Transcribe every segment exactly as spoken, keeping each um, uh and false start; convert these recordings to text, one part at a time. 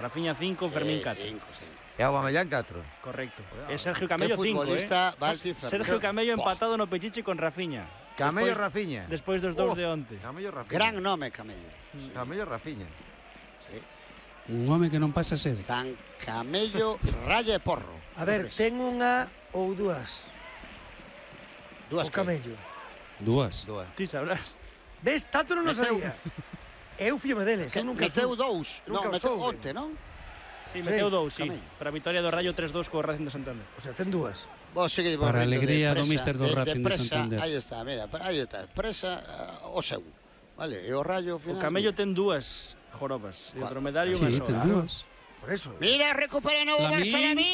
Rafinha cinco, Fermín catro. E Aubameyang catro. Correcto. É Sergio Camello cinco, eh? Sergio Camello empatado no Pechiche con Rafinha. Camello Rafinha. Despois dos dous oh, de onte. Camello Rafinha. Gran nome, Camello. Mm. Camello Rafinha. Sí. Un home que non pasa sede. Tan Camello Raya e Porro. A ver, ten unha ou dúas. Dúas o Camello. Dúas. Dúas. Ti sabrás. Ves, tanto non o sabía. Eu fíame deles. Que, meteu dous. Non, meteu onte, non? Sí, meteu dous, sí. Para a vitória do Rayo tres dous co Racing de Santander. O sea, ten dúas. Vos seguide, vos para a alegría do míster do de, Racing de, de Santander. Aí está, mira, aí está. Presa uh, o seu. Vale, e o Rayo final. O Camello ten dúas jorobas. E o dromedario sí, unha soa. ten dúas. Por eso. Mira, recupera novo Barça de mí.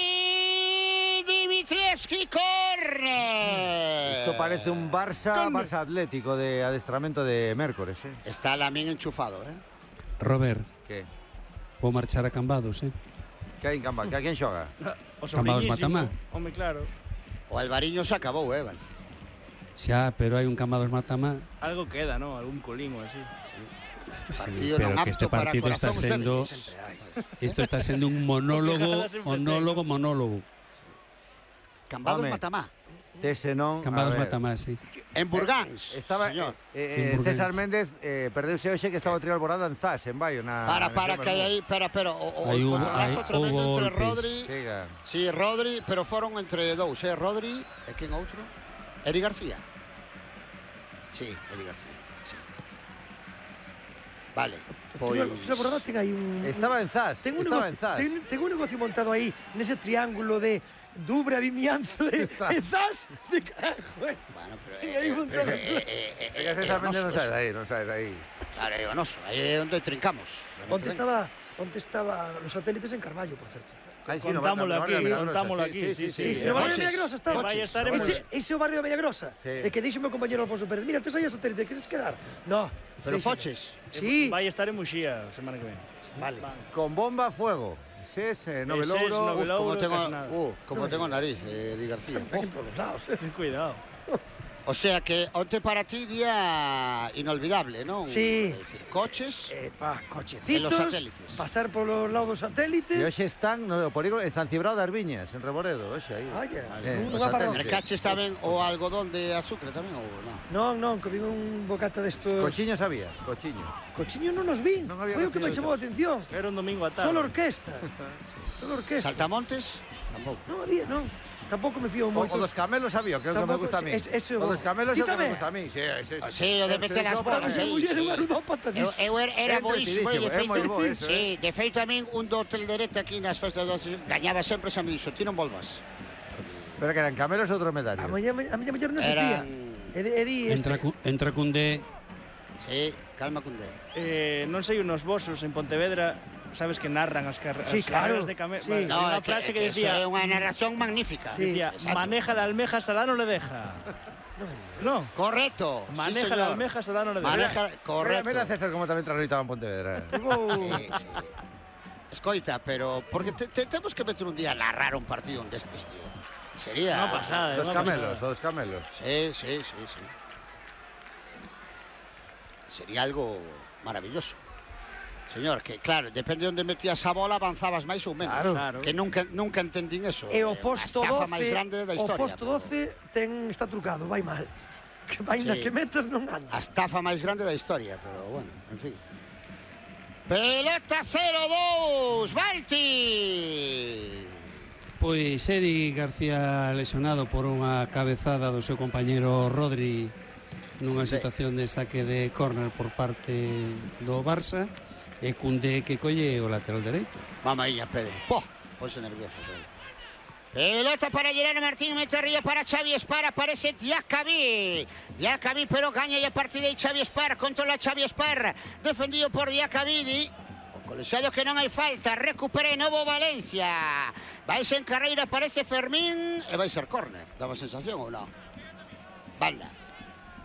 Dimitrievski corre. Isto parece un Barça, Barça Atlético de adestramento de Mércores, eh. Está Lamín enchufado, eh. Robert. Que? Vou marchar a Cambados, eh. Que hai en Cambados? Que a quen xoga? O Cambados Matamá. Home, claro. O Alvariño se acabou, eh, vale. Xa, pero hai un Cambados Matamá. Algo queda, ¿no? Algún colín ou así. Sí, sí, pero que este partido está sendo isto está sendo un monólogo, monólogo, monólogo. Cambados Matamá. Tese non. Cambados Matamá, sí. En Burgáns. Estaba señor. Eh, eh, César Méndez eh, perdeuse hoxe que estaba o trío Alborada en Zas, en Baio, na. Para para que hai aí, espera, pero o o hai un tremendo entre Rodri. Siga. Sí, Rodri, pero foron entre dous, eh, Rodri e quen outro? Eri García. Sí, Eri García. Sí. Vale. Pois o trío Alborada ten aí un Estaba en Zas, estaba en Zas. Ten, ten un negocio montado aí nese triángulo de Dubre a Vimianzo de, de Zas de carajo, eh. Bueno, pero sí, aí un eh, eh, eh, eh, eh, César Méndez non sabe de aí, non sabe de aí. Claro, é onoso, aí é onde trincamos. Onde estaba, onde estaba os satélites en Carballo, por certo. Ay, sí, contámoslo no, aquí, no, no, contámoslo sí, aquí. sí, Sí, sí, sí. sí, No barrio de Villagrosa estaba. Vai estar en Ese, ese é o barrio de Villagrosa. Sí. E que dixo meu compañero Alfonso Pérez, mira, tes aí a satélite, queres quedar? No. Pero foches. Sí. Vai estar en Muxía a semana que ven. Vale. Con bomba, fuego. Ses, eh, Novelouro, Uf, como tengo, uh, como no, tengo nariz, eh, Eri García. Está en todos los lados, eh. Ten cuidado. O sea que onte para ti día inolvidable, ¿no? Sí. Es decir, coches, eh, pa, cochecitos, en los satélites. pasar por los lados dos satélites. E hoxe están no polígono en San Cibrao das Viñas, en Reboredo, hoxe aí. Vaya, Eh, un os aparrón. satélites. mercaches saben o algodón de azúcar tamén ou non? Non, non, que vin un bocata destos. Cochiño sabía, cochiño. Cochiño non nos vin. Non había Foi o que me cochiño. chamou a atención. Era un domingo a tarde. Solo orquesta. Solo orquesta. Saltamontes? Tampouco. Non había, non. Tampouco me fío O, moito. o dos camelos sabía, que é o que me Tampouco, gusta a mí. es- ese o o- dos camelos é o que me Quítame. gusta a mí. Sí, sí, sí. Sí, o de meter as bolas Esa aí, muller é sí. unha ludópata Eu, diso. eu era, era É boísimo, e de entretidísimo, é moi feito, bo eso, sí, eh. de feito a min un do hotel derete aquí nas festas do gañaba sempre xa me dixo, ti non volvas. Pero que eran camelos ou dromedario. A miña a miña muller non se fía. Eran... E di, e di Entra, este. cu- entra Cundé. Sí, calma Cundé. Eh, non sei, unos vosos en Pontevedra, sabes que narran as, car Sí, as claro. carreras de camelos. Sí. Vale, No, unha é que, frase é que que decía, eso é unha narración magnífica. Sí. decía Exacto. maneja la almeja, Salá no le deja. No, Correcto. maneja sí, la señor. almeja, Salá no le deja. Maneja, correcto. Mira, mira César como tamén transitaba en Pontevedra. Sí, sí. Escoita, pero porque te, te, temos que meter un día a narrar un partido destes, tío. Sería... Unha pasada, Dos unha camelos, pasada. o dos camelos. Sí, sí, sí, sí. Sería algo maravilloso. Señor, que claro, depende de onde metías a bola, avanzabas máis ou menos. Claro. Claro. Que nunca, nunca entendín eso. E o É posto a estafa doce, máis grande da o historia. posto pero doce ten está trucado, vai mal. Que vai na Sí. que metas non anda. A estafa máis grande da historia, pero bueno, en fin. Pelota cero dos, Balti! Pois Eri García lesionado por unha cabezada do seu compañeiro Rodri nunha situación de saque de córner por parte do Barça e Cundé que colle o lateral dereito. Mamaíña, Pedro. Po, ponse nervioso, Pedro. Pelota para Gerardo Martín, mete arriba para Xavi Espar, aparece Diacabí. Diacabí, pero gaña a partir de Xavi Espar, controla Xavi Espar, defendido por Diacabí. O colexiado que non hai falta, recupera de novo Valencia. Vais en carreira, aparece Fermín, e vai ser córner. Daba sensación ou non? Banda,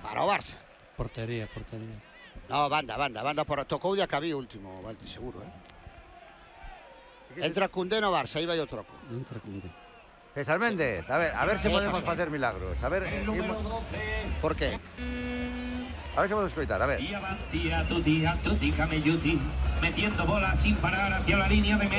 para o Barça. Portería, portería. No, banda, banda, banda, por... tocou Diacabí último, Valti, seguro, eh? Entra Cundé no Barça, aí vai o troco. Entra Cundé. César Méndez, a ver, a ver se ¿Qué podemos pasó? facer milagros. A ver, imos, Por qué? a ver se podemos escoitar, a ver. Día va, día, tu día, tu ti, camelluti, metiendo bolas sin parar hacia la línea de